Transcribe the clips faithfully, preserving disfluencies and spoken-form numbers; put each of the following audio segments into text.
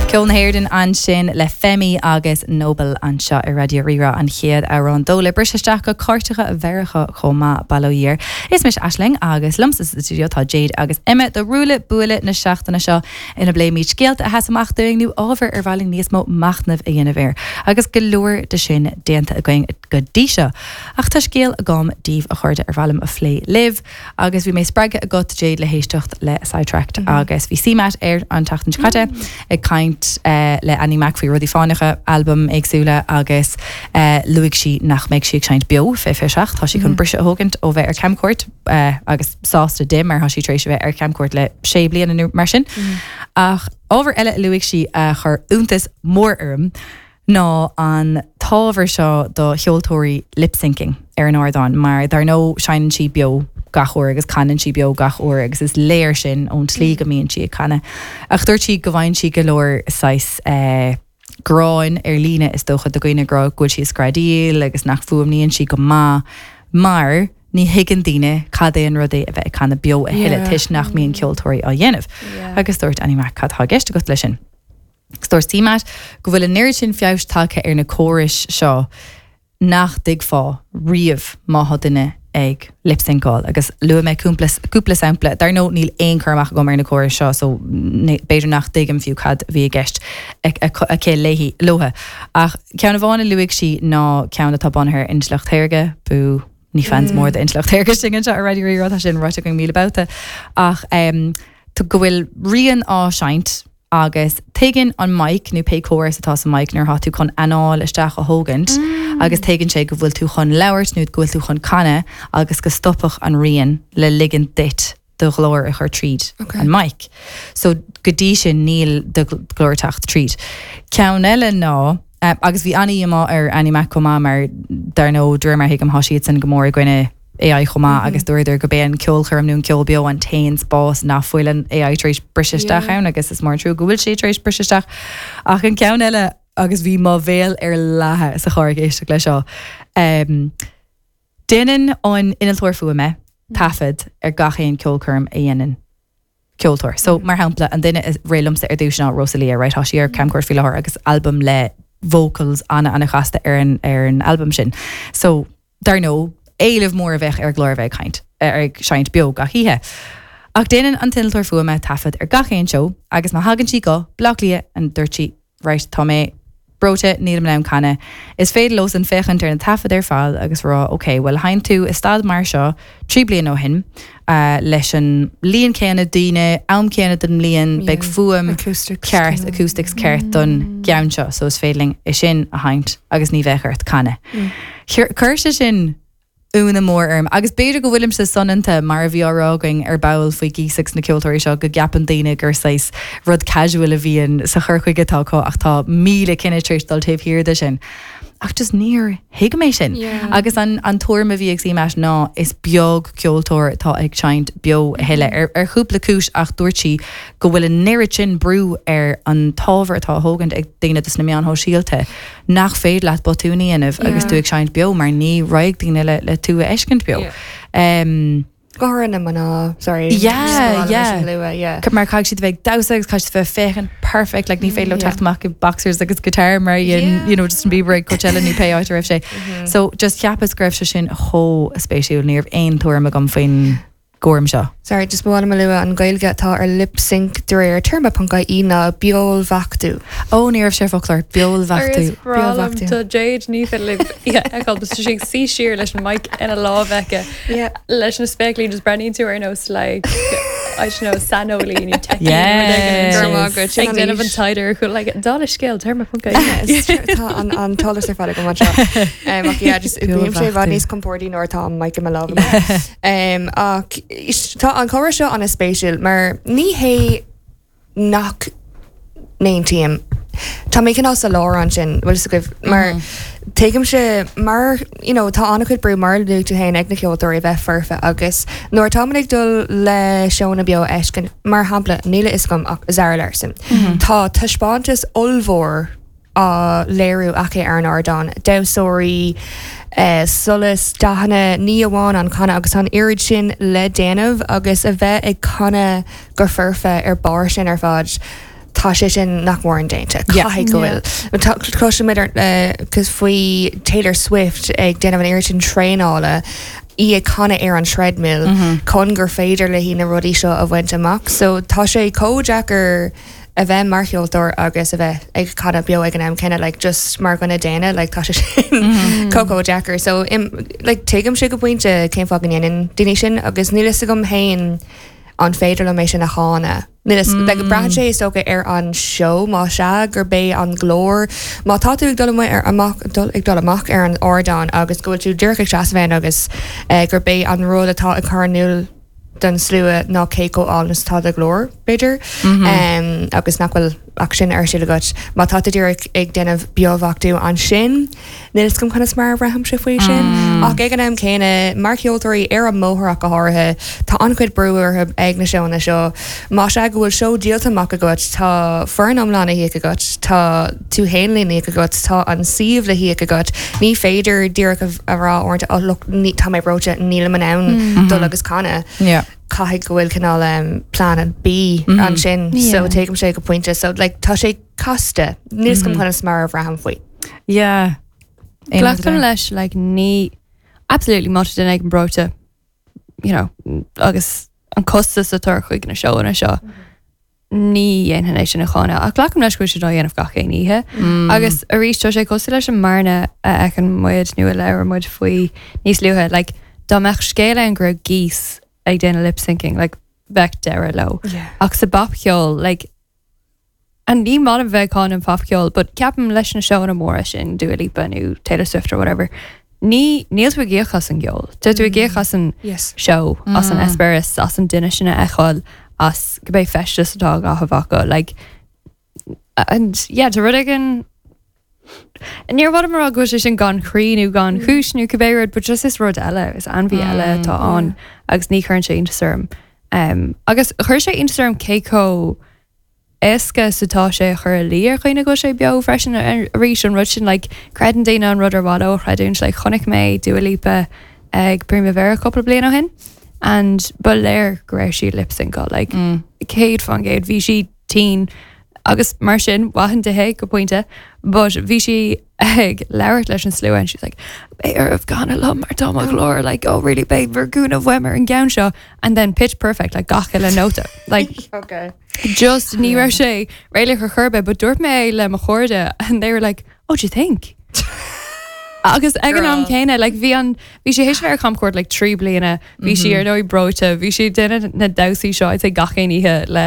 Ceol na hÉireann ansin le Femi agus Nobel anseo ar Raidió Rí-Rá an chéad amhrán dó le briseadh isteach go cairteacha Mheiriceá chomh maith bail ó Dhia air. Is mise Aisling agus liomsa sa studio tá Jade agus Emma do ruaille buaille na seachtaine seo ina bpléimid scéalta a sheas amach dúinn nó ábhar ar mhaith linn níos mó machnaimh a dhéanamh air. Agus go leor de sin déanta againn go dtí seo. Ach tá scéal agam daoibh a chairde ar mhaith liom a phlé libh agus bhí mé spreagtha agat Jade le héisteacht le Sidetracked mm -hmm. agus bhí CMAT ar an tseachtain seo caite mm. ag caint uh, le Annie Mac faoi rudaí fánacha albam éagsúla agus uh, luaigh sí nach mbeidh sí ag seinnt beo fé fé seach tá sí chun mm. briseadh a thógaint ó bheith ar camchuairt uh, agus sásta di mar tá sí tar éis a bheith ar camchuairt le sé bliana nó mar sin. Mm. Ach ábhar eile a luaigh sí a chuir iontas mór orm ná an t-ábhar seo do cheoltóirí lip-syncing ar an ardán mar dar ndóigh seinneann sí beo gach uair agus canann sí beo gach uair agus is léir sin ón tslí go mbíonn sí ag canadh. Ach dúirt sí go bhfaigheann sí go leor saghas eh, gráin ar líne is dócha de dhaoine ag rá go bhfuil sí ag screadaíl agus nach bhfuaimníonn sí go maith mar ní thuigeann daoine cad é an rud é a bheith ag canadh beo a thuilleadh toisc nach mbíonn ceoltóirí á dhéanamh. Agus dúirt Annie Mac cad tá i gceist agat leis sin. Agus dúirt CMAT go bhfuil an oiread sin feabhais tagtha ar na córais seo nach dtuigfeá riamh má tá duine ag lipsyncáil agus luaigh mé cúpla sampla dar ndóigh níl aon chur amach agam ar na córais seo so b'fhéidir nach dtuigim fiú cad bhí i gceist aici léi leo. Ach ceann amháin a luaigh sí ná ceann atá bunaithe ar intleacht shaorga bú ní fans mór de intleacht shaorga sin anseo ar Raidió Rí-Rá sin ráite go míle babhta ach um, go bhfuil rian á seinnt agus tuigeann an mic nó pé córas atá sa mic nuair atá tú chun anáil isteach a thógaint mm. agus tuigeann sé go bhfuil tú chun labhairt nó go bhfuil tú chun canadh agus go stopfadh an rian le ligean duit do ghlór a chur tríd Okay. an mic. So go dtí sin níl do ghlór ag teacht tríd. Ceann eile ná uh, agus bhí an-díomá ar Annie Mac chomh maith mar dar ndóigh de réir mar thuigim tá siad sin go mór i gcoinne AI chomh maith agus dúradar gurb é an ceolchoirm nó an ceol beo an t-aon spás nach bhfuil an AI tar éis briseadh isteach ann agus is mór an trua go bhfuil sé tar éis briseadh isteach ach an ceann eile agus bhí mo bhéal ar leathadh sa charr ag éisteacht leis seo. Um, Déanann an innealtóir fuaime taifead ar gach aon ceolchoirm a dhéanann ceoltóir. So mar shampla an duine is rith liomsa ar dtús ná Rosalia, right tá sí ar camchuairt faoi láthair agus album le vocals ana ana chasta ar an ar an album sin. So dar ndóigh éileamh mór a bheith ar glór a bheith ag caint ar ag seinnt beo gach oíche. Ach déanann an t-innealtóir fuaime taifead ar gach aon seó agus má thagann sí go Baile Átha Cliath an dúirt sí right tá mé breoite nílim in ann canadh. Is féidir leo san féachaint ar na taifid ar fad agus rá ok, well sheinn tú i staid mar seo trí bliana ó shin uh, leis an líon céanna daoine am céanna den mbliain beidh fuaim Acoustics ceart acoustics ceart don gceann seo, so is féidir linn é sin a sheinnt agus ní bheidh ort canadh. Chuir chuir sé sin ionadh mór orm agus b'fhéidir go bhfuilimse soineanta mar a bhí á rá againn ar ball faoi Gísax na ceoltóirí seo go gceapann daoine gur saghas rud casual a bhíonn sa chur chuige atá acu ach tá míle cinneadh tar éis dul taobh thiar de sin. Ach just níor thuig mé sin. Yeah. Agus an, an tuairim a bhí ag CMAT ná is beag ceoltóir atá ag seinnt beo a thuilleadh ar, ar chúpla cúis ach dúirt sí go bhfuil an oiread sin brú ar an t-ábhar atá á thógaint ag daoine dos na meáin shóisialta nach féidir leat botún a dhéanamh agus Yeah. tú ag seinnt beo mar ní raghaidh daoine le, le tú a fheiscint beo. Yeah. Um, Go háirithe na mná sorry Yeah, yeah. lua yeah. mar caithfidh siad bheith damhsa agus caithfidh siad bheith féachaint perfect like ní féidir leo Yeah. teacht amach i boxers agus guitar mar dhein Yeah. you know Justin Bieber ag Coachella nó pé áit a raibh sé. So just cheapas go raibh sé sin chomh spéisiúil ní raibh aon tuairim agam faoin gcúram seo. Sorry, just bhála lua an Ghaeilge atá ar lip sync de réir téarma.ie ná beolbheachtú. Ó ní raibh sé foclóir beolbheachtú. Beolbheachtú. Tá Jade ní féidir sé ag suí siar leis an mic ina lámh aici Yeah. leis na spéaclaí just breathnaíonn tú ar nós like I don't know saineolaí nó tech Yes. ag déanamh an taighde chu like dála scéil téarma.ie Tá an an t-eolas ar fad agam anseo. Um, ach yeah, just bíonn sé i bhfad níos compordaí nuair atá an mic i mo lámh. Um, ach is- tá an comhrá seo an-spéisiúil mar ní hé nach n-aontaím. Tá mé cineál sa lár ansin bhfuil a fhios agaibh mar tuigimse mar you know, tá an-chuid brú mar luaigh tú féin ag na ceoltóirí bheith foirfe agus nuair tá ag dul le seónna beo a fheiscint mar shampla níl a fhios agam ach Zara Larsson. Tá taispeántas ollmhór á léiriú aici ar an ardán. Damhsóirí, eh, solas dathanna ní amháin an canadh agus an oiread sin le déanamh agus a bheith ag canadh go foirfe ar barr sin ar fad. tá sé sin nach mór indéanta Yeah. caithfidh go bhfuil Cloisimid cos faoi Taylor Swift ag déanamh an oiread sin traenála í ag canadh ar an treadmill chun gur féidir léi na rudaí seo a bhaint amach, so tá sé chomh deacair a bheith mar cheoltóir agus a bheith ag canadh beo ag an am céanna like just mar dhuine daonna like tá sé sin chomh chomh deacair so im, like tuigim sé go pointe cén fáth go ndéanann daoine sin agus níl fhios agam féin an féidir liom é sin a cháineadh. Níl fhios- like, braitheann sé is dócha ar an seó má sea gur bé an glór má tá tú ag dul amuigh ar amach dul ag dul amach ar an ardán agus go bhfuil tú díreach ag seasamh ann agus eh, gur bé an rud atá ag cur in iúl don slua ná cé chomh álainn is atá do ghlór b'fhéidir um, agus nach bhfuil ach sin ar siúl agat má tá tú díreach ag déanamh beobheachtú ansin níl fhios agam conas mar a bhraithim sé faoi sin ach ag an am céanna mar cheoltóirí ar an mbóthar ach go háirithe tá an-chuid brú orthu ag na seónna seo má sea go bhfuil seó díolta amach agat tá foireann iomlán le híoc agat tá tú féin le híoc agat tá an suíomh le híoc agat ní féidir díreach a a rá orthu oh, look, ní- tá mé breoite nílim in ann dul agus canadh Yeah. caithfidh go bhfuil cineál um, plan B ansin so Yeah. tuigim sé go pointe so like tá sé casta níl fhios agam conas mar a bhraithim faoi. Yeah. Aon Glacaim rud leis like ní absolutely má duine ag an breoite you know agus an costas atá chuig na seónna seo ní dhéanfainn é sin a cháineadh ach glacaim leis go bhfuil siad á dhéanamh gach aon oíche agus arís tá sé cosúil leis an mbearna a fheiceann muid nó a labhair muid faoi níos luaithe like dá mbeadh scéal ann go raibh geese ag déanamh lip syncing like bheadh deireadh leo Yeah. ach sa bpopcheol like an ní maith liom bheith ag cáineadh an popcheol but ceapaim leis na seónna móra sin Dua Lipa nó Taylor Swift or whatever ní níl tú ag íoc as an gceol Tá tú ag íoc as an Yes. show as an eispéireas as an duine sin a fheiceáil as cibé feisteas atá á chaitheamh acu like and yeah tá rud éigin Níor mhaith mar go sé sin gan chroí nó gan chúis nó cibé rud, but just is rud eile is ainmhí eile atá ann agus ní chuireann sé iontas orm. Um, agus chuir sé iontas orm cé chomh éasca is atá sé a chur i luí ar dhaoine go sé beo freisin arís an rud sin like, creideann daoine an rud ar mhaith leo a chreidiúint like, chonaic mé Dua Lipa ag Primavera cúpla bliain ó shin and ba léir go raibh sí lip sync like, mm. céad faoin gcéad bhí sí tinn agus mar sin mhaith di go pointe but bhí sí ag labhairt leis an slua and she's like beidh oraibh canadh liom mar tá mo ghlór like oh really beidh bhur gcúnamh uaim ar an gceann seo and then pitch perfect like gach uile nóta like Okay. just ní raibh sé réalaíoch ar chor ar bith, but dúirt mé le mo chairde and they were like oh do you think agus ag an am Girl. céanna like bhí an bhí sé théis bheith ar camchuairt like trí bliana bhí sí ar ndóigh breoite bhí sí ag déanamh na damhsaí seo I'd say gach aon oíche le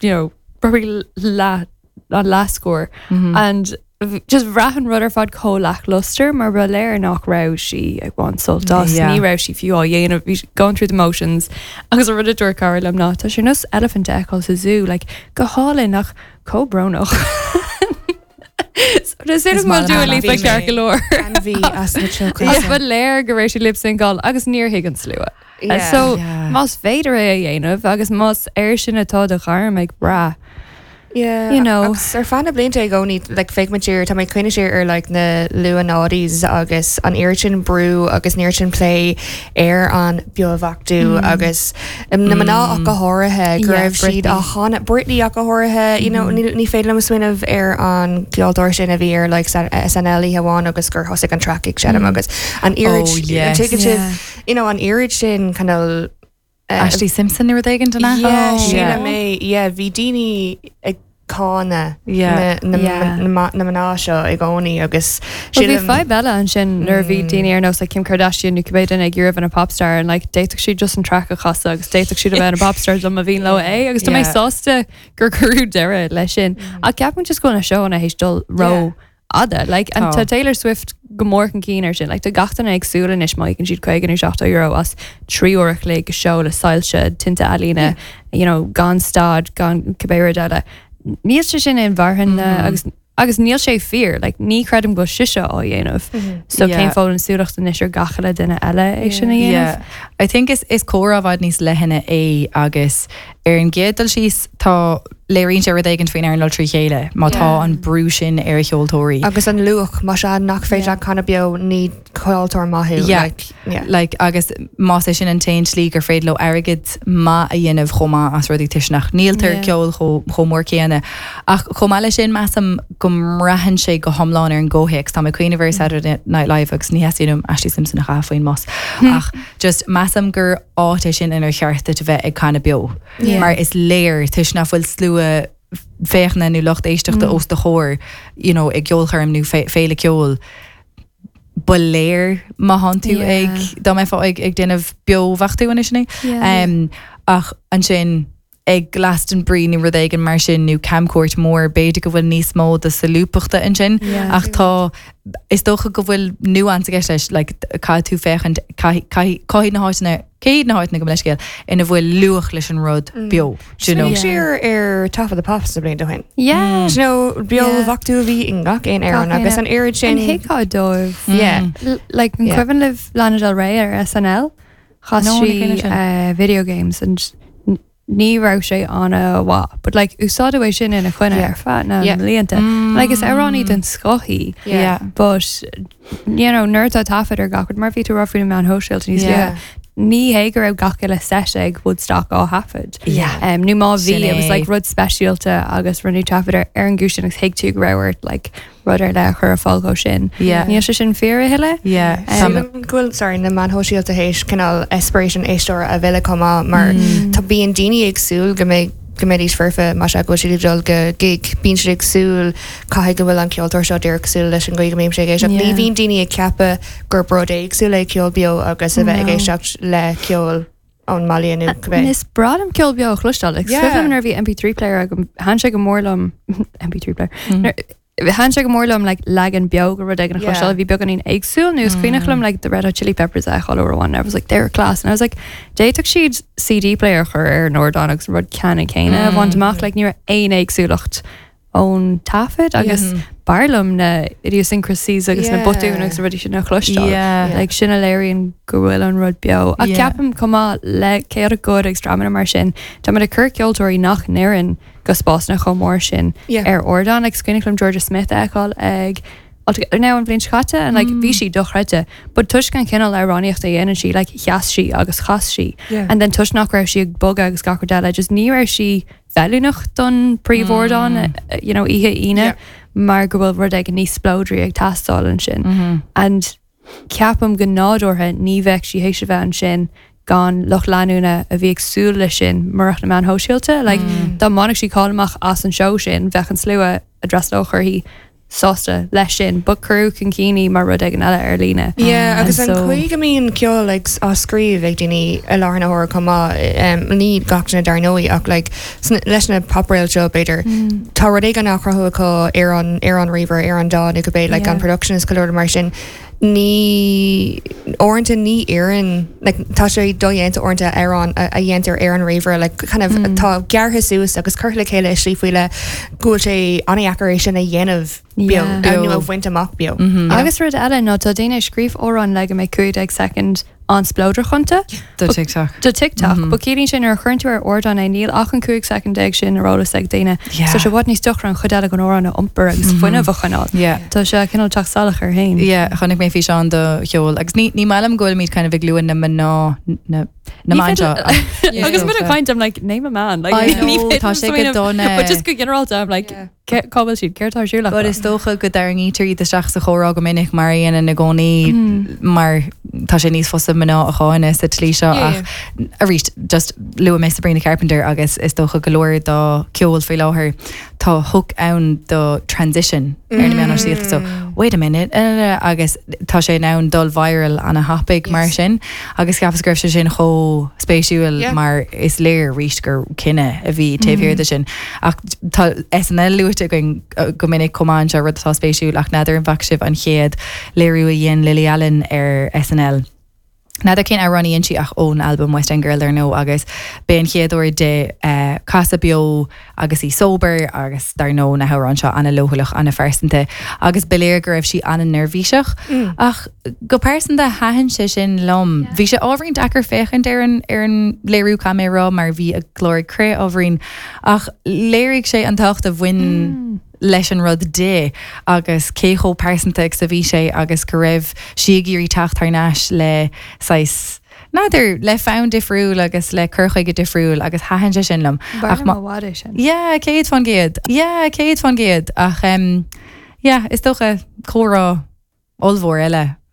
you know probably leath an leathscór and v- just bhraith an rud ar fad chomh lackluster mar ba léir nach raibh sí ag baint sult as Yeah. ní raibh sí fiú á dhéanamh bhí sí going through the motions agus a rud a dúirt cara liom ná tá sé nós elephant a fheiceáil sa zoo like go hálainn ach chomh brónach. So Is Is maith Dua liom Lipa Bhí ceart mé. go leor. Ainmhí as na Ach teocha. ba léir go raibh sí lip syncáil agus níor thuig an slua. Yeah. So Yeah. más féidir é a dhéanamh agus más air sin atá do ghairm ag brath. Yeah, You know. agus ar feadh na blianta i gcónaí like féachaim siar tá mé ag cuimhneamh siar ar like na luath-noughties agus an oiread sin brú agus an oiread sin plé ar an beobheachtú agus um, na mná ach go háirithe go Yeah, raibh siad Britney. á cháineadh Britney ach go háirithe you know, ní ní féidir liom smaoineamh ar an gceoltóir sin a bhí ar like SNL amháin agus gur thosaigh an track ag seinm agus an oiread Oh, yes. yeah. you know an oiread sin kind of Ashlee Simpson nó rud éigin den Yeah, Oh. Sheila May yeah bhí daoine ag cáineadh Yeah. na Yeah. na na mná seo i gcónaí agus Well, bhí sílim- fadhb eile ansin nuair a bhí daoine ar nós like Kim Kardashian nó cibé duine ag iarraidh bheith ina popstar and like d'fhéadfadh siad just an track a chasadh agus d'fhéadfadh siad a bheith ina popstar dá mba mhian leo é agus tá mé Yeah. sásta gur cuireadh deireadh leis sin ach ceapaim just go bhfuil na seónna théis dul ró Yeah. fhada like and Tá. tá Taylor Swift go mór chun cinn ar sin like tá gach duine ag súil anois má íocann siad caoga nó seachtó euro as trí uair a chloig seó le soilse tinte ealaíne you know gan stad gan cibé rud eile níl sé sin inmharthana agus agus níl sé fíor like ní chreidim go bhfuil sise á dhéanamh so Yeah. cén fáth an súlacht anois ar gach eile duine eile é sin a dhéanamh Yeah. I think is is comhrá i bhfad níos leithne é agus ar an gcéad dul síos tá léiríonn sé rud éigin faoin earnáil trí chéile má tá an brú sin ar a cheoltóirí. Agus an luach má sea nach féidir Yeah. leat canadh beo ní ceoltóir maith thú. Yeah. Like, yeah. Like, agus más é sin an t-aon slí gur féidir leo airgead maith a dhéanamh chomh maith as rudaí toisc nach ndíoltar Yeah. ceol chomh chomh mór céanna. Ach chomh maith leis sin measaim go mbraitheann sé go hiomlán ar an gcomhthéacs Tá mé cuimhneamh ar Saturday Night Live agus ní theastaíonn Ashlee Simpson a chaitheamh faoin mbus. Ach just measaim gur áit é sin inar cheart duit a bheith ag canadh beo. Yeah. Mar is léir toisc nach bhfuil slua féachana nó lucht éisteachta mm. os do chomhair you know, ag ceolchoirm nó fé- féile ceoil. Ba léir má thánn tú Yeah. ag dá mbeifeá ag ag déanamh beobheachtú anois sin é. Yeah. Um, ach ansin ag Glastonbury nó rud éigin mar sin nó camchuairt mór b'fhéidir go bhfuil níos mó de solúbthachta ansin Yeah. ach tá is dócha go bhfuil nuance aige leis like, caithfidh tú féachaint caithfidh na háiteanna céad na háiteanna go leiscéil ina bhfuil luach leis an rud beo. Do you know? Bhí sé ar ar Top of the Pops na blianta ó shin. Yeah. Do you know beo Yeah. bheachtú a bhí i ngach aon amhrán Gach aon agus an oiread sin An thuigfeá dóibh. Yeah. L- Like an Yeah. cuimhin libh Lana Del Rey ar SNL chas No, ní cuimhin sí sin. uh, video games and n- ní raibh sé an-mhaith, but like úsáideadh é sin ina coinne Yeah. ar feadh na Yeah. mblianta. Like is amhránaí den scoth í. Yeah. But you know nuair atá taifead ar gach rud mar bhí tú rá faoi na meáin shóisialta níos Yeah. luaithe. Ní hé go raibh gach uile set ag Woodstock á thaifead. Yeah. Um, nó má bhí Sin it was é. like rud speisialta agus rinneadh taifead ar ar an gcúis sin agus thuig tú go raibh ort like rud ar leith a chur ar fáil dhó sin. Yeah. Níl sé sin fíor a thuilleadh? Yeah. Um, Sílim go bhfuil sorry na meáin shóisialta théis cineál eispéireas an éisteora a mhilleadh chomh maith mar tá bíonn daoine ag súil go mbeidh go mbeidís foirfe má sea go bhfuil siad ag dul go gig bíonn siad ag súil caithfidh go bhfuil an ceoltóir seo díreach cosúil leis an gcaoi go mbím sé ag éisteacht. Ní Yeah. bhíonn daoine ag ceapadh gur rud éagsúil é ceol beo agus a bheith ag No. éisteacht le ceol ón mbaile nó cibé. Is breá liom ceol beo a chloisteáil. Like, Yeah. yeah. nuair a bhí MP three player agam thaitin sé go mór liom MP three player. Mm. Nuair- Thaitin sé go mór liom like, leagan beo go rud éigin a Yeah. chloisteáil a bhí beagáinín éagsúil nó is cuimhneach liom like, the Red Hot Chili Peppers a fheiceáil uair amháin. I was like they're class and I was like d'fhéadfadh siad CD player a chur ar an ardán agus an rud ceannann céanna a bhaint amach like, ní raibh aon éagsúlacht ón taifead agus b'fhearr liom na idiosyncrasies agus na Yeah. botúin agus na rudaí sin a chloisteáil. Yeah. Like sin a léiríonn go bhfuil an rud beo. A Yeah. ceapaim chomh maith le Chaotic Good agus dreamanna mar sin, Tá ag cur ceoltóirí nach n-oireann go spásanna chomh mór sin Yeah. ar ardán like, is cuimhin liom Georgia Smith a fheiceáil ag now an bhliain seo caite and like bhí sí dochreidte, but toisc an cineál amhránaíochta a dhéanann sí like sheas sí agus chas sí. Yeah. And then toisc nach raibh sí ag bogadh agus gach rud eile, just ní raibh sí feiliúnach don príomhardán uh, you know, oíche Aoine Yeah. mar go bhfuil rud éigin níos spleodraí ag teastáil ansin. And ceapaim go nádúrtha ní bheadh sí théis a bheith ansin gan lucht leanúna a bhí ag súil leis sin murach na meáin shóisialta, like, dá mbainfeadh sí cáil amach as an seó sin bheadh an slua a d'fhreastalódh uirthi sásta leis sin, but cuireadh chun cinn í mar rud éigin eile ar líne. Yeah, agus an so- chaoi go mbíonn ceol like, á scríobh ag daoine i láthair na huaire chomh maith um, ní gach duine dar ndóigh ach like, sna- leis na popréaltaí seo b'fhéidir tá rud éigin á chruthú acu ar an ar an ríomhaire ar an DAW nó cibé like, Yeah. an production is go leor mar sin ní uaireanta ní oireann like, tá sé dodhéanta uaireanta ar an a a dhéantar ar an ríomhaire like, kind of tá gearrtha suas agus curtha le chéile i slí faoi leith go bhfuil sé an-deacair é sin a dhéanamh beo Yeah. nó a bhaint amach beo. Agus rud eile ná tá daoine ag scríobh amhrán le go mbeidh cúig déag soicind an-spleodrach iontu. Do TikTok. Do TikTok, mm -hmm. But sin ar chuireann tú ar ardán é níl ach an cúig soicind déag sin ar eolas ag daoine. Yeah. So sé i bhfad níos deacra an chuid eile den amhrán a iompar agus fuinneamh a choinneáil. Yeah. Tá sé cineál teacht salach air féin. Yeah, chonaic mé físeán do cheol agus ní ní maith liom go bhfuilimid kind of ag lua na mná na na Ní mná féidir- Agus mu kind I'm like name a man like I ní know, féidir tá sé go smaoineamh- dona. But just go ginearálta I'm like Yeah. cá bhfuil siad céard atá ar siúl But is dócha go dtarraingítear iad isteach sa chomhrá go minic mar a dhéanann i gcónaí mar tá sé níos fusa mná a cháineadh sa tslí seo Yeah, ach arís just luaigh mé Sabrina Carpenter agus is dócha go leor dá ceol faoi láthair tá hook ann do transition ar na meáin shóisialta so wait a minute uh, agus tá sé in ann dul viral an-thapaidh mar Yes. sin agus cheapas go raibh sé sin chomh spéisiúil Yeah. mar is léir arís gur cinneadh a bhí taobh thiar de sin ach tá SNL luaite againn uh, go minic chomh maith seo rud atá spéisiúil ach n'fheadar an bhfaca sibh an chéad léiriú a dhein Lily Allen ar SNL. N'fheadar cén amhrán a dhein sí ach ón albam West End Girl ar ndóigh agus b'é an chéad uair di uh, casadh beo agus í sober agus dar ndóigh na hamhráin seo an-leochaileach an-phearsanta agus ba léir go raibh sí an-neirbhíseach mm. ach go pearsanta thaitin sé sin liom. Bhí sé ábhairín deacair féachaint ar an ar an léiriú caithfidh mé a rá mar bhí a glór ag crith ábhairín ach léirigh sé an tábhacht a bhain mm. leis an rud di agus cé chomh pearsanta agus a bhí sé agus go raibh sí ag iarraidh teacht thar n-ais le saghas n'fheadar le fonn difriúil agus le cur chuige difriúil agus thaitin sé sin liom. Ach má sin. Yeah, céad faoin gcéad. Yeah, céad faoin gcéad ach um, yeah, is dócha comhrá ollmhór eile